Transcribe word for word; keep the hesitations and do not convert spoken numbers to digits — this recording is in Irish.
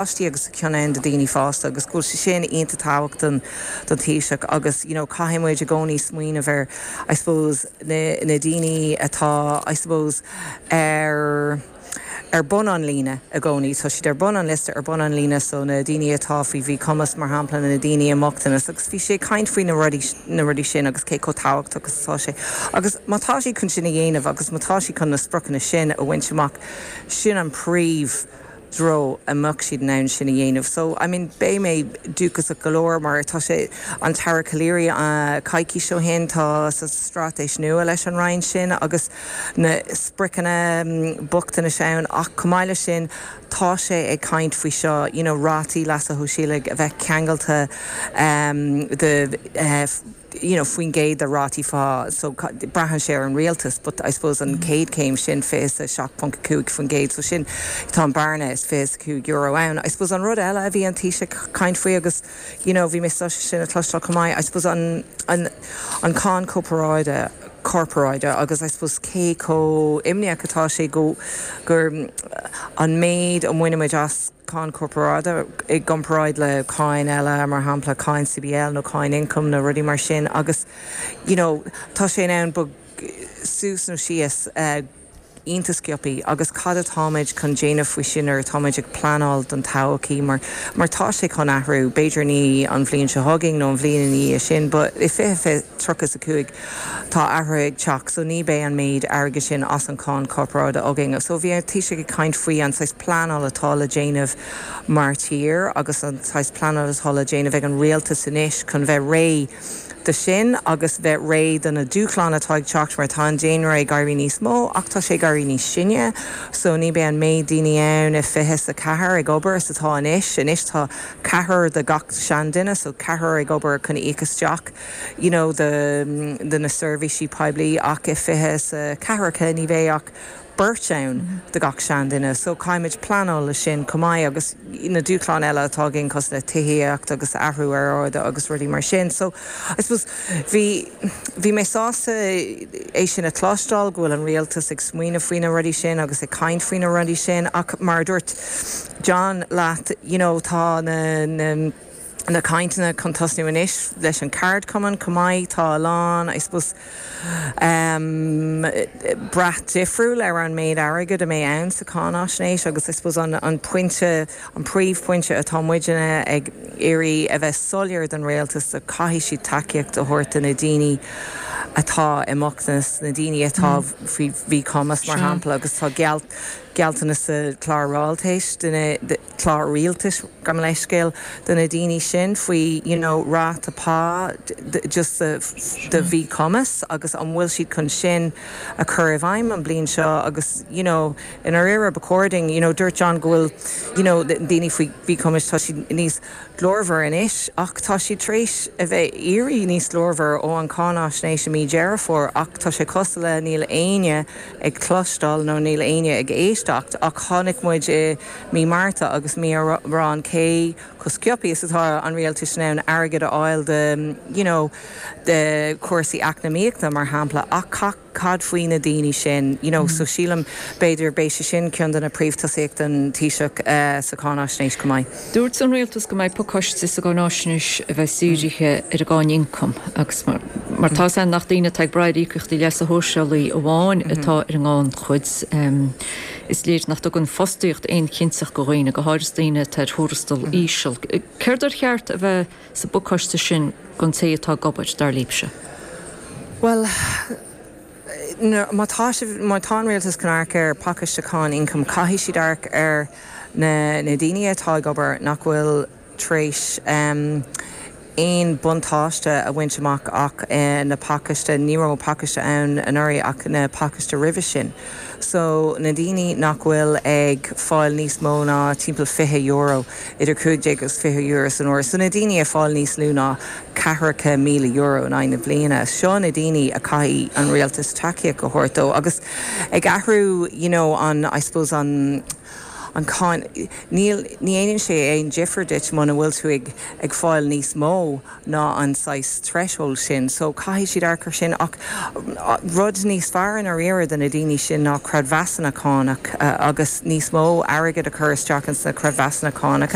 páistí agus ceann ann do daoine fásta agus go bhfuil sé sin iontach tábhachtach don don Taoiseach agus you know caithfidh muid i gcónaí smaoineamh ar I suppose na na daoine atá I suppose ar ar bun an líne i gcónaí, tá siad ar bun an liosta ar bun an líne so na daoine atá faoi mhíchumas mar shampla na daoine i mbochtanas agus bhí sé caint faoi na rudaí na rudaí sin agus cé chomh tábhachtach agus atá sé. Agus má tá sé chun sin a dhéanamh agus má tá sé chun na spriocanna sin a bhaint amach sin an príomh treo a mbeadh siad in ann sin a dhéanamh. So I mean beidh mé dóchasach go leor mar tá sé an tAire Calleary uh, coicís ó shin tá sa straitéis nua leis an Roinn sin agus na spriocanna mm, bochtanais ann ach chomh maith leis sin tá sé ag caint faoi seo you know, rátaí leasa shóisialaigh a bheith ceangailte um, de uh, you know, faoin gcéad de rátaí phá so braitheann sé ar an rialtas, but I suppose an chéad chéim sin fiche seacht ponc cúig faoin gcéad, so sin tá an bearna is fiche cúig euro ann. I suppose an rud eile a bhí an Taoiseach caint faoi agus you know, bhí mé sin a chloisteáil chomh maith I suppose an, an, an cáin corparáide corparáide agus I suppose cé chomh imníoch atá sé go gur an méid a bhainimid as cáin corparáide i gcomparáid le cáin eile mar shampla cáin CBL nó cáin ioncaim nó rudaí mar sin agus you know, tá sé ann suas nó síos uh, iontach sciobtha agus cad atáimid chun déanamh faoi sin ar táimid ag pleanáil don todhchaí mar mar tá sé chun athrú b'fhéidir ní an bhliain seo chugainn nó an bhliain í sin, but i fiche tríocha a cúig tá athrú ag teacht so ní bheidh an méid airgead sin as an cáin corparáide againn. So bhí an Taoiseach ag caint faoi an saghas pleanáil atá le déanamh mar tír agus an saghas pleanáil atá le déanamh ag an rialtas anois chun bheith réidh de sin agus bheith réidh do na dúshláin atá ag teacht mar tá an daonra ag éirí níos mó ach tá sé ag éirí níos sine, so ní bheidh an méid daoine ann i fiche a ceathair ag obair is atá anois, anois tá ceathrar de gach seanduine, so ceathrar ag obair chun íoc isteach you know, de, de na seirbhísí poiblí ach i fiche a ceathracha ní bheidh ach beirt ann de gach seanduine, so caithfimid pleanáil le sin chomh maith agus na dúshláin eile atá againn cosúil le tithíocht agus athrú aeráide agus rudaí mar sin. So I suppose bhí bhí mé sásta é sin a chloisteáil go bhfuil an rialtas ag smaoineamh faoi na rudaí sin agus ag caint faoi na rudaí sin ach mar dúirt John leat you know, tá na, na na cainteanna chun tosnú anois leis an cheardchumann chomh maith tá a lán I suppose um, brath difriúil ar an méid airgead a mbeidh ann sa cháinaisnéis agus I suppose an, an pointe an príomhphointe atá muidne ag iarraidh a bheith soiléir don rialtas a caithfidh siad tacaíocht a thabhairt do na daoine atá i mbochtanas na daoine atá mm. faoi mhíchumas mar shampla agus tá geall gealltanas sa chlár rialtais clár rialtais gabh mo leithscéal do na daoine sin faoi you know, ráta pá just de mhíchumas agus an bhfuil siad chun sin a chur i bhfeidhm an bliain seo agus you know, in ar éire according you know, dúirt John go bhfuil you know, daoine faoi mhíchumas tá siad níos glórmhar anois ach tá siad tar éis a bheith éirí níos glórmhar ó an cháinaisnéis i mí Deireadh Fómhair ach tá sé cosúil le níl éinne ag cloisteáil nó níl éinne ag éisteacht ach chonaic muid i mí Márta agus mí rán cé chomh sciobtha is atá an rialtas in ann airgead a fháil de you know, de chúrsaí eacnamaíochta mar shampla ach cad faoi na daoine sin you know, mm -hmm. so sílim b'fhéidir beidh sé sin ceann de na príomhthosaíochtaí an Taoiseach uh, sa cháinaisnéis chomh maith. Dúirt an rialtas go mbeidh pacáiste sa gcáinaisnéis a bheidh dírithe ar an gcáin ioncaim agus mar, mar tá an nach daoine ag brath ar íocaíochtaí leasa shóisialaigh amháin mm -hmm. atá ar an ngannchuid um, is léir nach dtugann fostaíocht aon chinnteacht do dhaoine go háirithe daoine ar thuarastal mm -hmm. íseal. Céard ar cheart a bheith sa bpacáiste sin don té atá ag obair dar libhse. Well, má tá má tá an rialtas chun amharc ar pacáiste cáin ioncaim caithfidh siad amharc ar na, na daoine atá ag obair nach bhfuil tar éis um, aon buntáiste a bhaint amach ach uh, na pacáiste ní raibh pacáiste ann anuraidh ach na pacáiste roimhe sin. So na daoine nach bhfuil ag fáil níos mó ná timpeall fiche euro idir cúig déag agus fiche euro san uair. So na daoine ag fáil níos lú ná ceathracha míle euro in aghaidh na bliana. Seo na daoine a caithfidh an rialtas tacaíocht a thabhairt dó agus ag athrú you know, an I suppose an an cáin níl ní dhéanann sé aon difear duit muna bhfuil tú ag ag fáil níos mó ná an saghas threshold sin, so caithfidh siad amharc air sin ach rud níos fearr in aon do na daoine sin ná creidmheasanna cánach uh, agus níos mó airgead a chur isteach sna creidmheasanna cánacha.